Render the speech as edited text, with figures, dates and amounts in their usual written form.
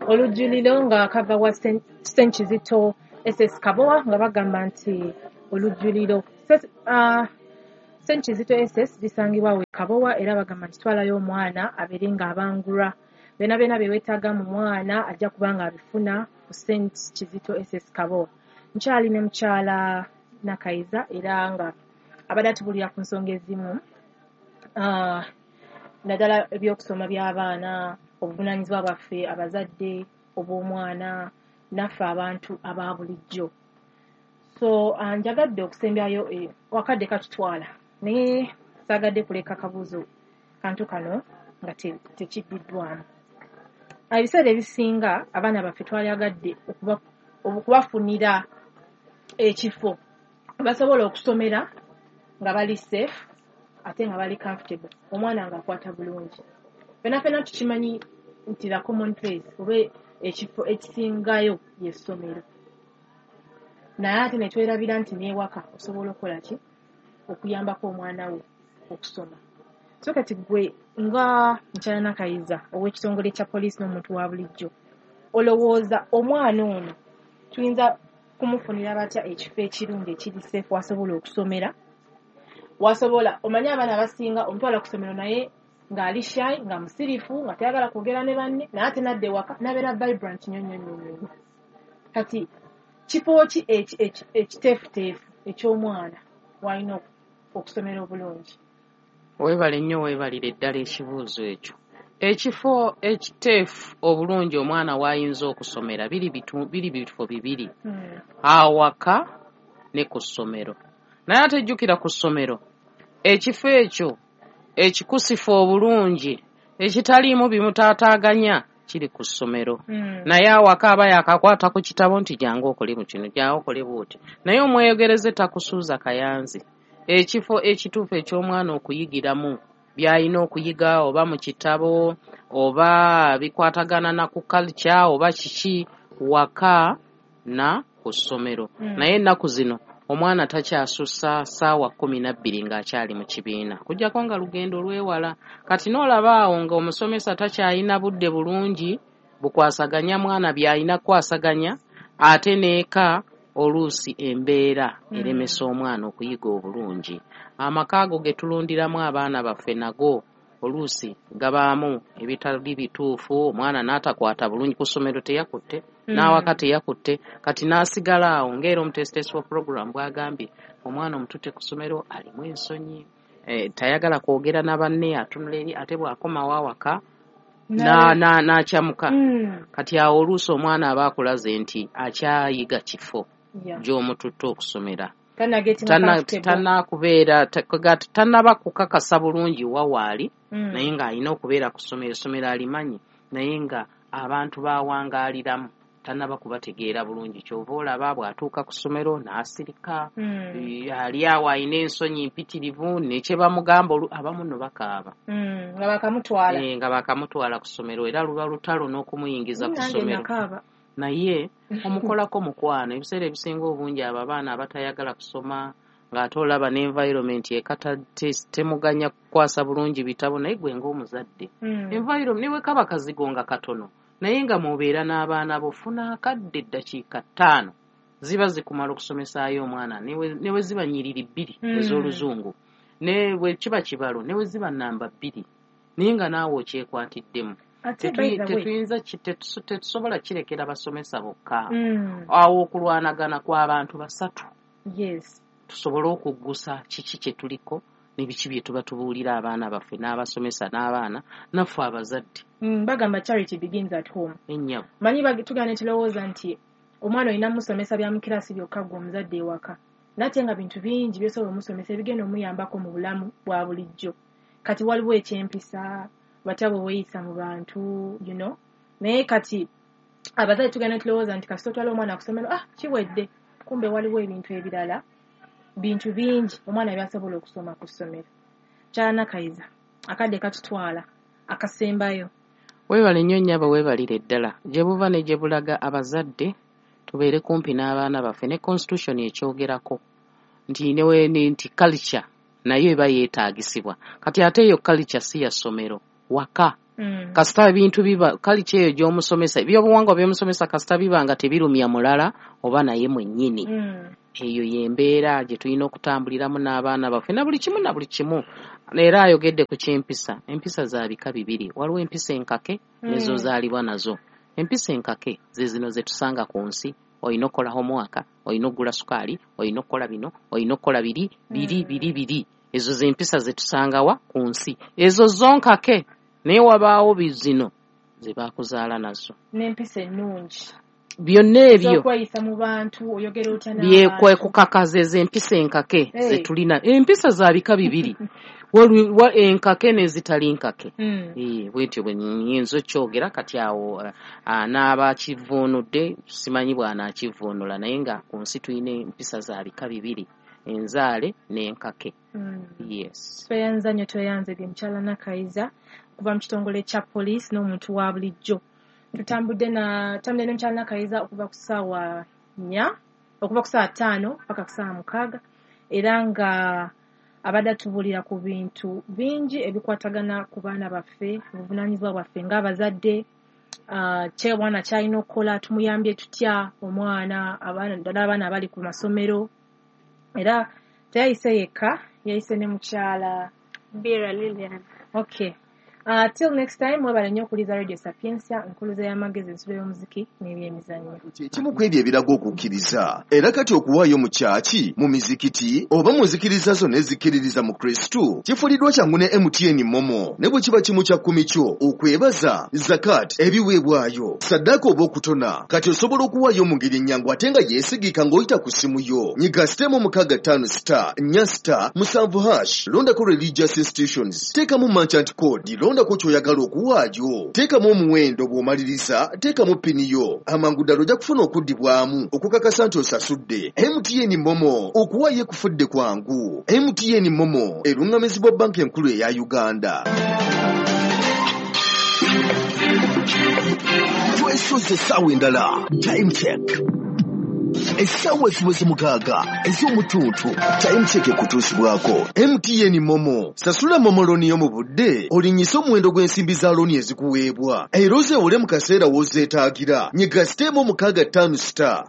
Olujjuliro nga kava wa St Kizito SS Kabowa, nga bagamba nti olujjuliro St Kizito SS bisangibwa we Kabowa, era bagamba nti twalayo omwana abeere ng'abangulwa byonna byonna bye weetaaga mu mwana, ajja kuba nga abifuna ku St Kizito SS Kabowa. Nkyali ne mukyala Nakayiza, era nga abadde atubulira ku nsonga ezimu, naddala ebyokusoma by'abaana, obuvunaanyizibwa bwaffe abazadde obw'omwana, naffe abantu aba bulijjo. So njagadde okusembyayo, wakadde katutwala, naye saagadde kuleka kabuuzo kantu kano nga tekiddiddwamu. Ebiseera ebisinga abaana baffe twalyagadde okubafunira ekifo basobola okusomera nga bali safe ate nga bali comfortable, omwana ng'akwata bulungi. Ffenna ffenna tukimanyi nti the common place oba ekifo ekisingayo ly'essomero, naye ate ne twerabira nti n'ewaka osobola okukola ki okuyambako omwana wo okusoma. So kati gwe nga mukyala Nakayiza ow'ekitongole kya poliisi n'omuntu wa bulijjo, olowooza omwana ono tuyinza kumufunira batya ekifo ekirungi ekiri safe wasobola okusomera, wasobola omanye abaana abasinga omutwala ku ssomero naye ng'ali shy, nga musirifu, nga tayagala kwogera ne banne, naye ate nadda ewaka n'abeera vibrant nnyo nnyo nnyo nnyo. Kati kifo ki ekiteefuteefu eky'omwana w'alina okusomera obulungi? Weebale nnyo, weebalire ddala ekibuuzo ekyo. Ekifo ekiteefu obulungi omwana w'ayinza okusomera biri bifo bibiri, awaka ne ku ssomero. Naye ate jjukira, ku ssomero ekifo ekyo ekikusifu obulungi ekitaliimu bimutaataaganya kiri ku ssomero. Naye awaka aba yakakwata ku kitabo nti jangu okole mu kino, jangu okole bw'oti, naye omweyogereze takusuuza kayanzi. Ekifo ekituufu eky'omwana okuyigiramu by'alina okuyiga, oba mu kitabo oba bikwatagana na ku culture oba kiki, waka na ku ssomero. Naye ennaku zino omwana takyasussa ssaawa 12 ng'akyali mu kibiina, kujjako nga lugendo lwewala. Kati n'olaba awo ng'omusomesa takyalina budde bulungi bukwasaganya mwana by'alina kukwasaganya, ate n'eka oluusi embeera eremesa omwana okuyiga obulungi. Amaka ago ge tulundiramu abaana baffe nago oluusi gabaamu ebitali bituufu, omwana n'atakwata bulungi ku ssomero, teyakutte, n'awaka teyakutte, kati n'asigala awo ng'era omuteesiteesi wa program bw'agambye, omwana omututte ku ssomero alimu ensonyi, tayagala kwogera na banne, atunula eri, ate bw'akomawo awaka n'akyamuka. Kati awo oluusi omwana aba akulaze nti akyayiga kifo gy'omututte okusomera. Tannakubeera, tannaba kukakasa bulungi wa waali, naye ng'alina okubeera ku ssomero, essomero alimanyi, naye nga abantu bawangaaliramu tannaba kubategeera bulungi. Kyova olaba bw'atuuka ku ssomero n'asirika, ali awo alina ensonyi mpitirivu, ne kye bamugamba abamu nno bakaaba. Nga bakamutwala. Nga bakamutwala ku ssomero, era luba lutalo n'okumuyingiza ku ssomero. Naye omukolako mukwano. Ebiseera ebisinga obungi abo abaana abatayagala kusoma, ng'ate olaba n'environment eka temuganya kukwasa bulungi bitabo, naye gwe ng'omuzadde, environment ne bwe kaba kazigo nga katono, naye nga mw'obeera n'abaana bo, funa akadde, eddakiika 5 ziba zikumala okusomesaayo omwana, ne bwe ziba nnyiriri 2 ez'Oluzungu, ne bwe kiba kibalo, ne bwe ziba namba 2, naye nga naawe okyekwatiddemu. Tetuyinza, tetusobola kirekera basomesa bokka. Awo okulwanagana kw'abantu basatu tusobole okuggusa kiki kye tuliko ne biki bye tuba tubuulira abaana baffe n'abasomesa n'abaana naffe abazadde. Bagamba charity begins at home. Ennyabo. Manyi tugenda ne tulowooza nti omwana olina musomesa bya mu kirasi byokka ggwe omuzadde ewaka, nate nga bintu bingi by'osobola omusomesa ebigenda omuyambako mu bulamu bwa bulijjo. Kati waliwo ekyempisa, batya bwe weeyisa mu bantu. Naye kati abazadde tugenda tulowooza nti kasita otwala omwana ku ssomero, kiwedde. Kumbe waliwo ebintu ebirala, bintu bingi omwana by'asobola okusoma ku ssomero. Kyanakayiza, akadde katutwala, akasembayo. Weebale nnyo nnyabo, weebalire ddala. Gye buva ne gye bulaga, abazadde tubeere kumpi n'abaana baffe, ne constitution ekyogerako nti nti culture nayo eba yeetaagisibwa. Kati ate eyo culture si ya ssomero, waka. Kasita ebintu biba kalica eyo gy'omusomesa, ebyobuwangwa by'omusomesa kasita biba nga tebirumya mulala oba naye mwennyini. Eyo y'embeera gye tulina okutambuliramu n'abaana baffe na buli kimu na buli kimu. Era ayogedde ku ky'empisa. Empisa za bika bibiri, waliwo empisa enkake nezozaalibwa nazo. Empisa enkake ze zino ze tusanga ku nsi. Olina okukola homework, olina okugula sukaali, olina okukola bino, olina okukola biri biri biri biri. Ezo ze mpisa ze tusangawa ku nsi, ezo zo nkake. Naye wabaawo bizino ze bakuzaala nazo n'empisa ennungi, byonna ebyo ez'okweyisa mu bantu, oyogera otya n'abantu. Byekwekukakaza ezo empisa enkake ze tulina. Empisa za bika bibiri, waliwo enkake n'ezitali nkake. Bwentyo bwe nnyinza okyogera kati awo n'abakivuunudde simanyi bw'anaakivuunula, naye nga ku nsi tulina empisa za bika bibiri, enzaale n'enkake. Yes. Tweyanza nnyo, tweyanze mukyala Nakayiza okuva mu kitongole kya poliisi n'omuntu wa bulijjo. Tutambudde na tutambudde ne mukyala Nakayiza okuva ku ssaawa 4, okuva ku ssaawa 5 paka ku ssaawa 6, era nga abadde atubuulira ku bintu bingi ebikwatagana ku baana baffe, obuvunaanyizibwa bwaffe ng'abazadde, kye omwana ky'alina okukola, tumuyambye tutya omwana, abaana ddala abaana abali ku masomero. Era teyayise yekka, yayise ne mukyala Bira Lilian. Okay. Till next time, mwebale nnyo okuwuliriza Radio Sapientia, nkuluze y'amagezi, ensulo y'omuziki n'ebyemizannyo. Kyekimu ku ebyo ebiraga okukkiriza. Era kati okuwaayo mu kyaki, mu mizikiti oba mu nzikiriza zonna ezikkiririza mu Kristo kifuuliddwa kyangu ne MTN MoMo. Ne bwe kiba 1/10 kyo, okwebaza, zakat, ebiweebwayo, saddaaka oba okutona, kati osobola okuwaayo mu ngeri ennyangu ate nga yeesigika ng'oyita ku ssimu yo. Nyiga *654*7#, londako religious institutions, teekamu merchant code, londako ky'oyagala okuwaayo, teekamu omuwendo, bw'omaliriza teekamu pini yo. Amangu ddala ojja kufuna okuddibwamu okukakasa nti osasudde. MTN MoMo, okuwaayo ekufudde kwangu. MTN MoMo eruŋŋamizibwa Banka Enkulu eya Uganda. Twesoze essaawa endala, Time Check. Essaawa ziweze 6 ez'omutuntu. Time Check ekutuusibwako MTN MoMo. Sasula MoMo looni yo mu budde, olinnyise omuwendo gw'ensimbi za looni ezikuweebwa, era ozeewole mu kaseera w'ozeetaagira. Nyiga *654*.